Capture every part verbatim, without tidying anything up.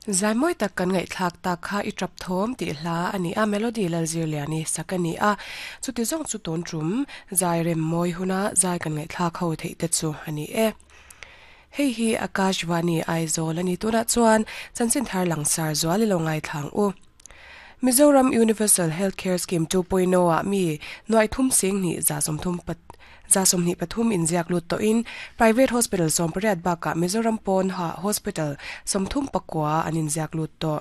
Zai moi tak kan ngai thlak ta kha i trap thom ti hla ani a melody lal zir liani sakani a chuti zong chu ton trum zai rem moi huna zai kan ngai thlak ho thei te chu ani e. Hei hi Akashvani Aizawl ani tuna chuan chanchin thar langsar zuali lo ngai thlang u. Mizoram Universal Healthcare Scheme two point oh a mi noi thum sing ni za som thum pat za som ni pathum in ziak lut to in private hospital som pariat baka Mizoram pon ha hospital som thum pakwa anin ziak lut to.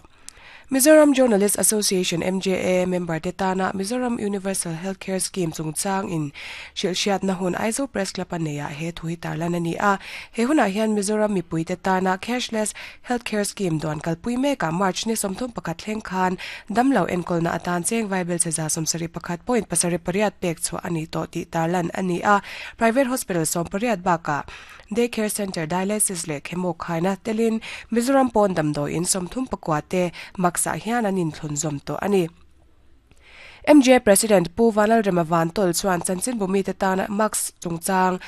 Mizoram Journalist Association M J A member te tana Mizoram Universal Healthcare Scheme chungchang in shilshiat na hun Aizawl Press Club aneya he thui tarlan ani a he huna hian Mizoram mipui te tana cashless healthcare scheme don kalpui me ka March ni somthum pakhat thleng khan damlo enkol na atan cheng vaibel che za somsari pakhat point pasari pariat pek chu ani to ti tarlan ani a private hospital som pariat baka daycare center dialysis le chemo khaina telin Mizoram pon damdo in somthum pakwa te maksa hian anin thlun zom to ani. M J President Pu Vanal Remavan tol chuan chanchin bumi te tana max chungchang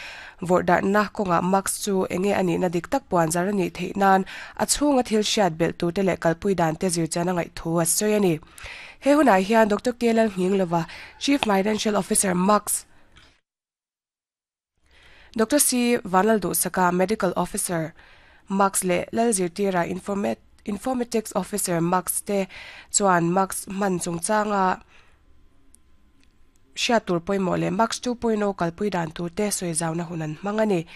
vordar na konga max chu enge ani na dik tak puan zarani theinan a chhunga thil hriat bel tu te le kalpui dan te zir chana ngai thu a soi ani. He huna hian Doctor Kelal Nginglova Chief Financial Officer Max Doctor C Vanal Du Saka Medical Officer Max le Lalzirtira Informat Informatics Officer Max te chuan Max man chungchanga hriat poimo le Max two point oh kalpui dan tur te soizauna hunan mangani.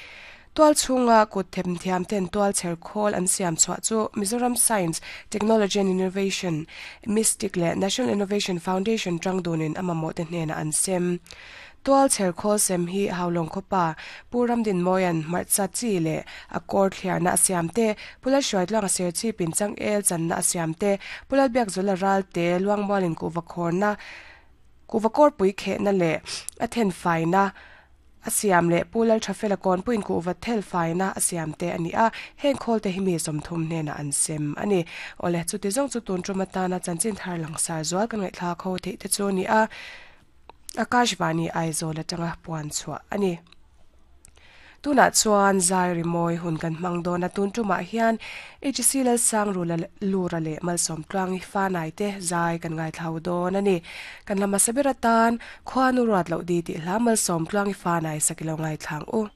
Tual chunga kut them thiam ten tual cher khol an siam chwa chu Mizoram Science Technology and Innovation Mystic le National Innovation Foundation tangdunin amamo te hnena an sem. Tual cher khol sem hi haulong khopa puram din moyan marcha chi le akor thliar na siam te pula shwait lang ser chi pin chang el chan na siam te pula bek zola ral te luang molin ku vakhor na ku vakor pui khe na le athen fai na asiam le pulal thafela kon puin ku va thel fai na asiam te ani a heng khol te himi som thum hne na an sem ani ole chu ti jong chu tun trumata na chanchin thar langsar zual kan ngai thla kho the te chu ni a Akashvani Aizawl atanga puan chua ani. Tuna chuan zai rimoi hun kan hmang dawn a tun tumah hian H C lal sang rula lura le malsawm tluang i fanai te zai kan ngai thlau dawn ani. Kan lama sabir atan khuanu ruat loh di tih hla malsawm tluang i fanai sakilo ngai thlang u.